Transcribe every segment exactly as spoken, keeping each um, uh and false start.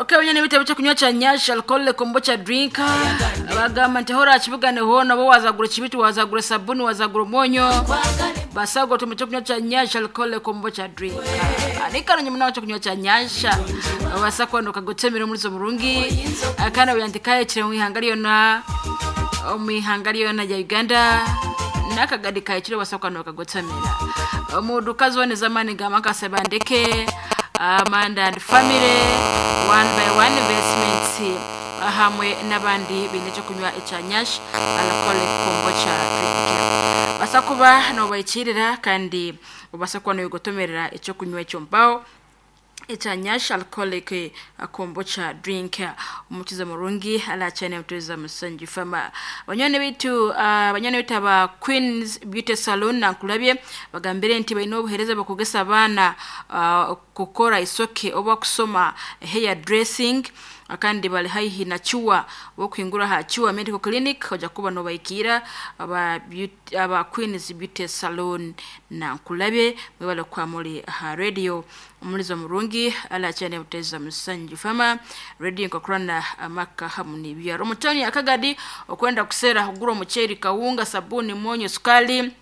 Okay, wenyine bitabo cyo kunywa cya Nyash alcohol kombucha drink, bagamba nti hora kibugane hona bo wazagura kibiti, wazagura sabuni, wazagura umonyo, basago tume cyo kunywa cya Nyash alcohol kombucha drink. Anikano nyuma cyo kunywa cya Nyash wasakwa ndo kagotemera muri zo murungi akana byandikaye kire mu ihanga ryona mu ihanga ryona ya Uganda nakagadi kayikire basakwa ndo kagotemera mu duka zone zamani gamakase bandeke Amanda and family one by one investments hamwe n'abandi bine cyo kunywa icya Nyash alcoholic kombucha drink, basakuba no bayikirira kandi ubasa kuba no gotomerera icyo kunywa icyo mbao icya Nyash alcoholic kombucha drink. Umukiza murungi alachane mutuza musanji fama banyone bitu uh, banyone bitu aba Queens Beauty Salon nakulabye bagambire nti balina obuhereza bakugesa abaana uh, kukora isoke oba kusoma hair dressing, kandi bali haihi na chuwa wokuingura ha Chuwa Medical Clinic, oja kuba no baikira aba beauty, aba Queens Beauty Salon na nkulabe mwebale kwa muri ha radio umulizo murungi ala cyane muteza musanji fama radio nkokrana amaka hamu ni byaro mutoni akagadi okwenda kusera kugura umuceri, kawunga, sabuni, monyo, sukali,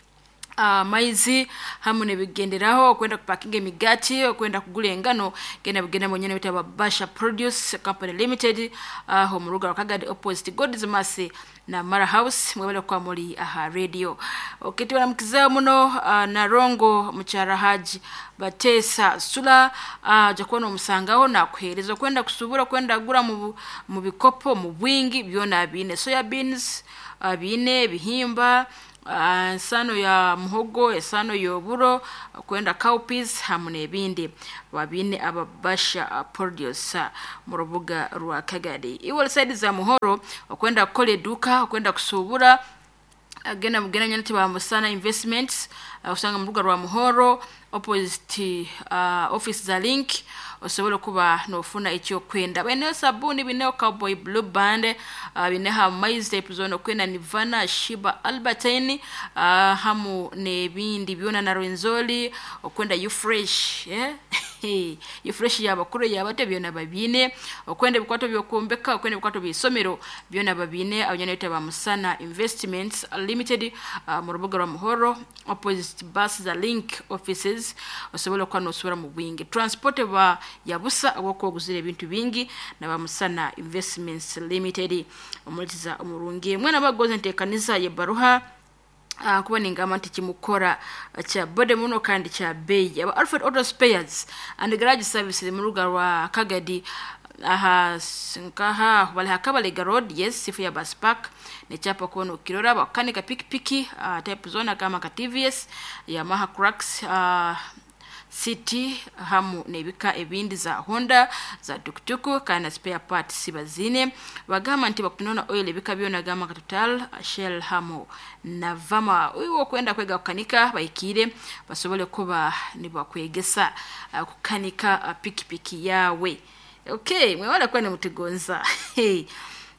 uh, maizi hamu nebigenderaho, okwenda kupakinga emigati, okwenda kugula engano, genda bigenda mwenyene bitaba Basha Produce Company Limited aho uh, mu ruga Kagadi opposite God's Mercy na Mara House. Mwebale kwa muri aha radio. Okay, tubaramukizao muno uh, na Rongo Muchara Haji Batesa Sula uh, jakuwa nomusangaho nakuhereza kwenda kusubura kwenda gura mu, mu bikopo mu bwingi byona bine soya beans uh, bine bihimba uh, esano ya muhogo, esano y'oburo, kwenda cowpeas hamwe n'ebindi babine ababasha producer mu rubuga rwa Kagadi iwe side za Muhoro okwenda kukola eduka okwenda kusubura, agenda mugenda nyana ba Musana Investments uh, usanga mu rubuga rwa Muhoro opposite uh, office za Link, osobola kuba nofuna icyo kwenda bene sabuni bine Cowboy Blue Band uh, bine ha maize type zone kwenda Nivana, Shiba, Albertine uh, hamu nebindi byona na Rwenzori okwenda you fresh, yeah? You fresh yabakuru yabate byona babine okwenda bikwato byokumbeka okwenda bikwato bisomero byona babine abanyana ba Musana Investments Limited uh, mu rubuga rwa Muhoro opposite bus za Link offices, osobola kuba nosubira mu bwingi transport ba yabusa awokoguzira ebintu bingi na ba Musana Investments Limited. Omuliza omurungi mwana bagoze ntekanisa ye baruha uh, kuba ningamba nti kimukora kya bode muno kandi kya beyi aba Alfred Auto Spares and Garage Services mu rubuga rwa Kagadi aha nkaha bali hakabalega road, yes, sifu ya bus park nekyapa kuona ukirora bakanika pikipiki uh, type zone kama ka T V S, Yamaha Crux uh, City hamu nebika ebindi za Honda za tuktuku kana spare parts bazine bagamba nti bakunona oil ebika byona gamba ka Total, Shell hamu na Vama. Uwo kwenda kwega kukanika bayikire basobole kuba nibakwegesa uh, kukanika uh, pikipiki yawe. Okay, mwewala kwa ni mutigonza hey.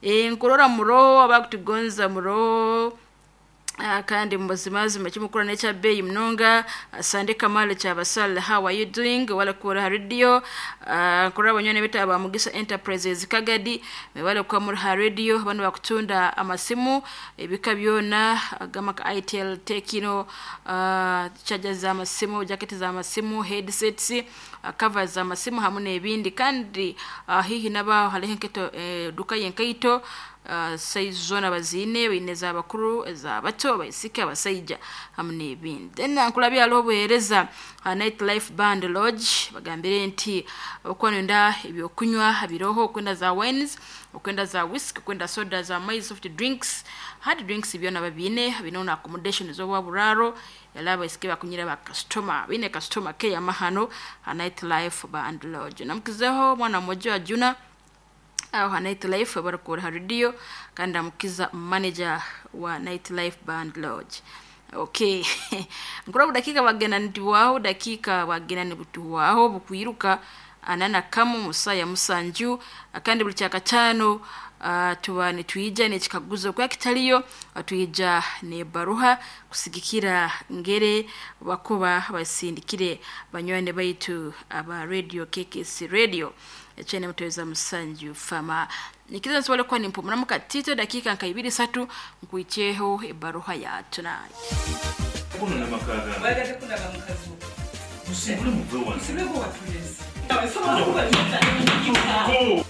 E, nkurora muroho abakutugonza muroho Uh, kandi mubazimazima kimukura nekya beyi munonga uh, Sande Kamale kyabasal, how are you doing? Wala kura radio uh, nkura abanyone bita aba Mugisa Enterprises Kagadi wala kwa muri ha radio bano bakutunda amasimu ebika byona gama ka Itel, Tecno, uh, charger za masimu, jacket za masimu, headsets, uh, covers za masimu hamwe n'ebindi kandi uh, hihi naba haliho enketo eh, duka yenkaito uh, size zona bazine bine za bakuru za bato abaisiki abasaija hamwe n'ebindi. Then nkulabya haliho obuheereza uh, Night Life Band Lodge bagambire nti okuba nenda ebyokunywa biroho okwenda za wines, okwenda za whisky, okwenda soda za maize, soft drinks, hard drinks byona babine bino na accommodation z'obwa buraro yala abaisiki bakunyira ba customer bine customer care amahano ha Night Life Band Lodge. Namukizeho mwana mmoja wa Juna aho ha Night Life barakura ha radio kandi amukiza manager wa Night Life Band Lodge. Okay, nkura budakika bagenda ntiwaho dakika bagenda nibutuwaho bukwiruka anana kamu musaya musanju kandi buli kyakatano uh, tuba nitwija nekikaguzo kwa kitaliyo twija ne baruha kusigikira ngere bakuba basindikire banywani baitu aba radio K K C radio. Ekyene mutweza musanju fama nikiza nsobole kuba nimpumuramu katito dakiika nka ibiri satu nkwikyeho ebaruha ya tonight. Kuno n'amaka gange. Wayagadde kundaga mukazi wo. Musibule muve wano. Musibule gwe watulese. Go!